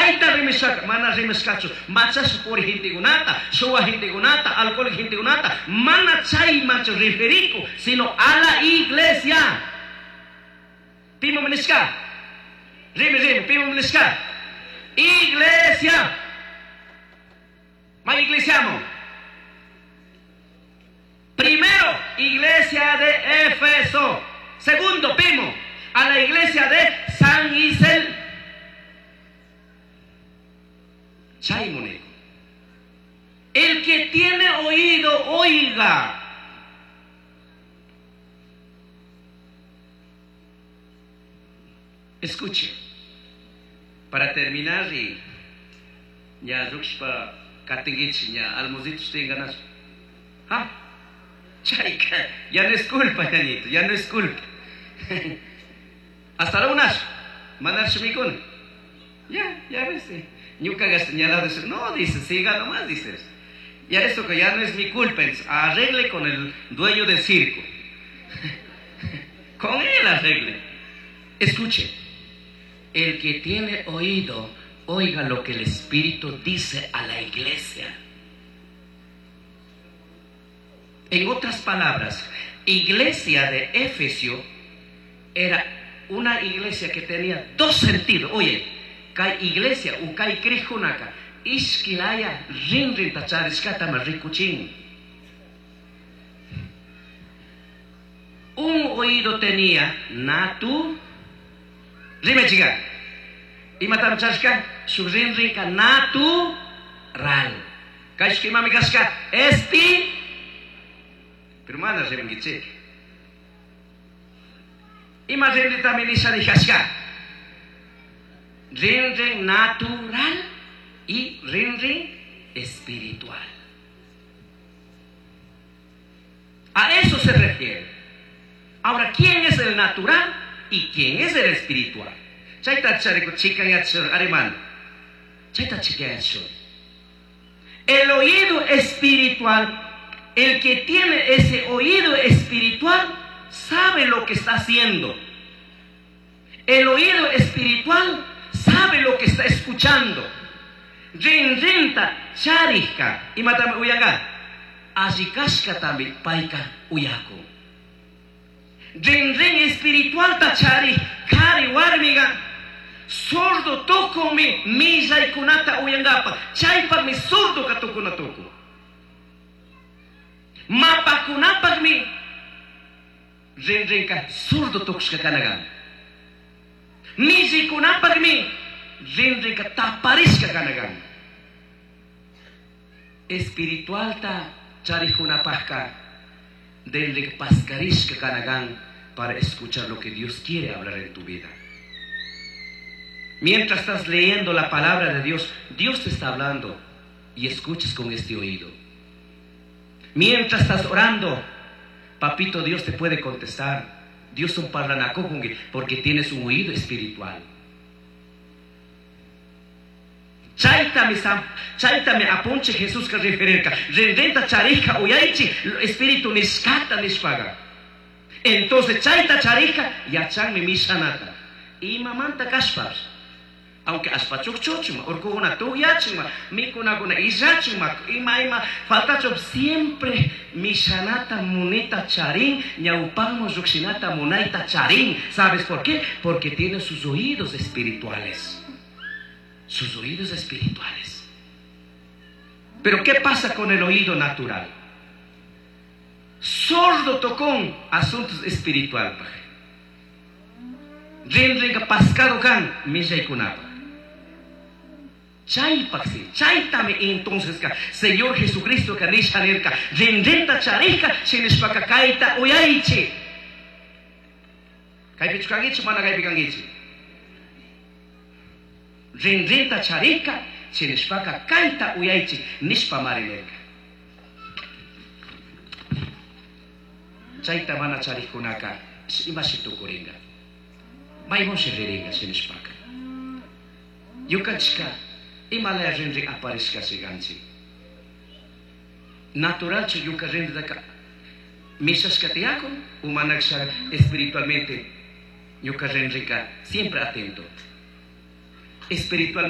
Chayta rimashaka, mana rimashkachu, machasha puri gentekunata, shuwa gentekunata, alcohólico gentekunata, mana chaymanchu referiku, sino a la iglesia. Pimanmi nishka? Rimi, rimi, pimanmi nishka? Iglesia. May iglesiaman. Primero, iglesia de Éfeso. Segundo, pimo, a la iglesia de San Isel. Chaymuneko. El que tiene oído, oiga. Escuche. Para terminar, y ya rukshpa katingichi, ya almuzitos tengan. ¿Ah? Chayka, ya no es culpa, ñañito, ya no es culpa. Hasta la unas, mandar shumikuna. Ya, ya ves. Ñuka señalado dice, no, dice, siga nomás, dice. Ya eso que ya no es mi culpa, arregle con el dueño del circo. Con él arregle. Escuche, el que tiene oído, oiga lo que el Espíritu dice a la iglesia. En otras palabras, iglesia de Efesio era una iglesia que tenía dos sentidos. Oye, kay iglesia u kay crijkunaka ishkilaya rinrinta charishkatami rikuchin. Un oído tenía natu, rime chica, imatam charishka, shuk rinrinka natural. Kayshka imami kashka, espi, pero mana rimankichik. Ima rinritami nisha nijashka. Rinrin natural y rinrin espiritual. A eso se refiere. Ahora, ¿quién es el natural y quién es el espiritual? Chayta chariku chikanyachur, arimán. Chayta chikanyachur. El oído espiritual, el que tiene ese oído espiritual, sabe lo que está haciendo. El oído espiritual sabe lo que está escuchando. Rinrinta charishka. Imatami uyanga. Allikashkatami payka uyakun. Rinrin espiritualta chari kari warmiga sordo tukunmi millaykunata uyankapa. Chaypaqmi sordo tukuna tukun. Mapakunapaqmi rinrinka sordo tukushka kanagan. Millikunapaqmi rinrinka taparishka kanagan. Espiritualta charikunapaqka rinrinka paskarishka kanagan para escuchar lo que Dios quiere hablar en tu vida. Mientras estás leyendo la palabra de Dios, Dios te está hablando y escuchas con este oído. Mientras estás orando, papito Dios te puede contestar. Dios un parlanakukungi porque tienes un oído espiritual. Chaytami apunche Jesús que referirka. Rinrinta charija uyaichi espíritu nishkata nishpaga. Entonces chayta charija yachanmi mishanata. Imamanta kashpash. Aunque aspachukchuchuma, urkukuna tukyachuma, mikunakuna illachuma, ima ima faltachu siempre mishanata munita charín, ñawpanmu llukshinata munayta charín. ¿Sabes por qué? Porque tiene sus oídos espirituales. Sus oídos espirituales. Pero ¿qué pasa con el oído natural? Sordo tocón asuntos espirituales. Rinrinka pascado kan millaykunapa. Chaypaqsi, chaytami entonces ka Señor Jesucristo ka nisha nirka, rinrinta charishka, shinishpaka kayta uyaychi. Kaypichu kankichi, mana kaypi kankichi. Rinrinta charishka, shinishpaka kayta uyaychi, nishpa mari nirka. Chayta mana charishkunaka, imashi tukuringa. Maymunshi riringa shinishpaka. Ñukanchika imalaya rinrin aparishka shiganchik. Naturalchu ñuka rinritaka mishashka tiyakun, umanaksha espiritualmente ñuka rinrinka siempre atento. Espiritualmente